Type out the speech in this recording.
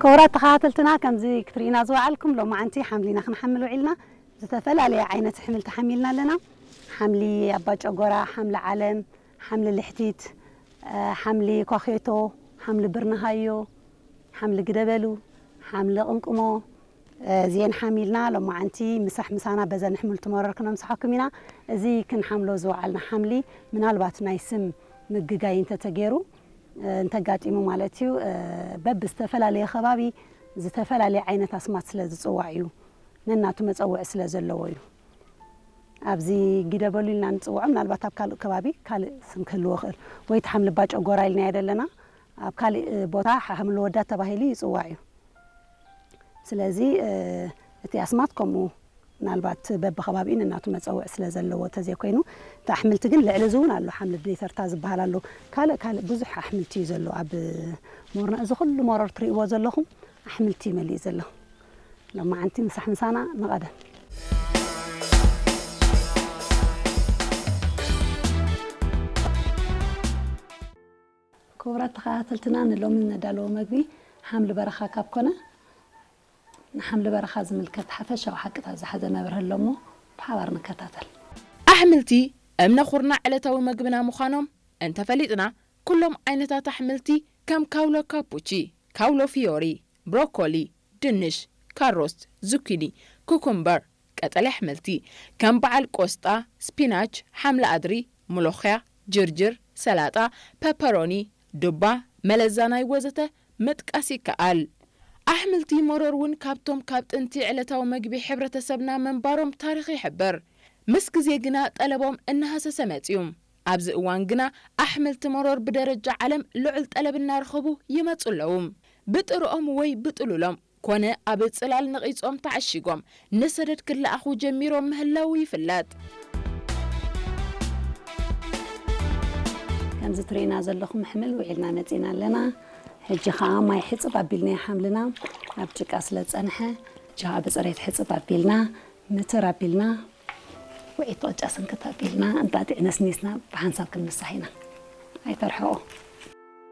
ክቡራት ተኸታተልትና፣ ከምዚ ክትርእዩና ዝወዓልኩም፣ ሎማዓንቲ ሓምሊና ክንሓምል ውዒልና። ዝተፈላለየ ዓይነት ኣሕምልቲ ሓሚልና ኣለና። ሓምሊ ኣባጨጎራ፣ ሓምሊ ዓለም፣ ሓምሊ ልሕቲት፣ እ፣ ሓምሊ ኳኼቶ፣ ሓምሊ ብርንሃዮ፣ ሓምሊ ግደበሉ፣ ሓምሊ ቅምቅሞ፣ እ፣ እዚኤን ሓሚልና ሎማዓንቲ ምሳሕ ምሳና በዘን ኣሕምልቲ መረር ክነምስሓኩም ኢና። እዚ ክንሓምሎ ዝወዓልና ሓምሊ ምናልባት ናይ ስም ምግጋይ እንተተገይሩ፣ እ፣ እንተጋጢሙ ማለት እዩ፣ እ፣ በብዝተፈላለየ ከባቢ ዝተፈላለየ ዓይነት ኣስማት ስለ ዝጽዋዕ እዩ። ነናቱ መጸውዒ ስለ ዘለዎ እዩ። ኣብዚ ጊደበሉ ኢልና ንጽውዖ፣ ምናልባት ኣብ ካልእ ከባቢ ካልእ ስም ክህልዎ ይኽእል። ወይ እቲ ሓምሊ ባጨጎራ ኢልናዮ ዘለና፣ ኣብ ካልእ ቦታ ሓምሊ ወዳት ተባሂሉ ይጽዋዕ እዩ። ስለዚ፣ እ፣ እቲ ኣስማት ከምኡ ምናልባት በብኸባቢኡ ነናቱ መጸውዒ ስለ ዘለዎ ተዘይኮይኑ፣ እቲ ኣሕምልቲ ግን ልዕሊ እዚ እውን ኣሎ። ሓምሊ ብደይተርታ ዝበሃል ኣሎ። ካልእ ካልእ ብዙሕ ኣሕምልቲ እዩ ዘሎ ኣብ ሞርና። እዚ ኩሉ መረር ትርእይዎ ዘለኹም ኣሕምልቲ እዩ መሊኡ ዘሎ። ሎማዓንቲ ምሳሕ ምሳና ንቐደም። ክቡራት ተኸታተልትና፣ ንሎሚ ነዳለዎ መግቢ ሓምሊ በረኻ ካብ ኮነ፣ ንሓምሊ በረኻ ዝምልከት ሓፈሻዊ ሓቅታት ዝሓዘ መብርሂ ኣሎ እሞ ብሓባር ንከታተል። ኣሕምልቲ እምነ ኩርናዕ ዕለታዊ መግብና ምዃኖም እንተፈሊጥና፣ ኩሎም ዓይነታት ኣሕምልቲ ከም ካውሎ ካፑቺ፣ ካውሎ ፊዮሪ፣ ብሮኮሊ፣ ድንሽ፣ ካሮት፣ ዙኪኒ፣ ኩኩምበር፣ ቀጠልያ ኣሕምልቲ ከም በዓል ቆስጣ፣ ስፒናች፣ ሓምሊ ኣድሪ፣ ሙሎኽያ፣ ጅርጅር፣ ሰላጣ፣ ፐፐሮኒ፣ ዱባ፣ መለዛናይ ወዘተ ምጥቃስ ይከኣል። ኣሕምልቲ መሮር እውን ካብቶም ካብ ጥንቲ ዕለታዊ መግቢ ሕብረተሰብና ምንባሮም ታሪኽ ይሕብር። ምስ ግዜ ግና ጠለቦም እናሃሰሰ መጽዩ። ኣብዚ እዋን ግና ኣሕምልቲ መሮር ብደረጃ ዓለም ልዑል ጠለብ እናረኸቡ ይመጹ ኣለዉ። ብጥርኦም ወይ ብጥሉሎም ኮነ ኣብ ጽላል ነቒጾም ተዓሺጎም ንሰደድ ክለኣኹ ጀሚሮም ምህላዉ ይፍለጥ። ከምዚ ትርእዩና ዘለኹም ኣሕምል ውዒልና መጺና ኣለና። ሕጂ ኸኣ ማይ ሕጽብ ኣቢልናዮ ሓምልና፣ ኣብ ጭቃ ስለ ዝጸንሐ፣ ጅኻ ብጽሬት ሕጽብ ኣቢልና፣ ምትር ኣቢልና፣ ውዒት ቅጫ ስንክት ኣቢልና፣ እንጣጢዕ ነስኒስና ብሓንሳብ ክንምሳሕ ኢና። ኣይተርሕቑ።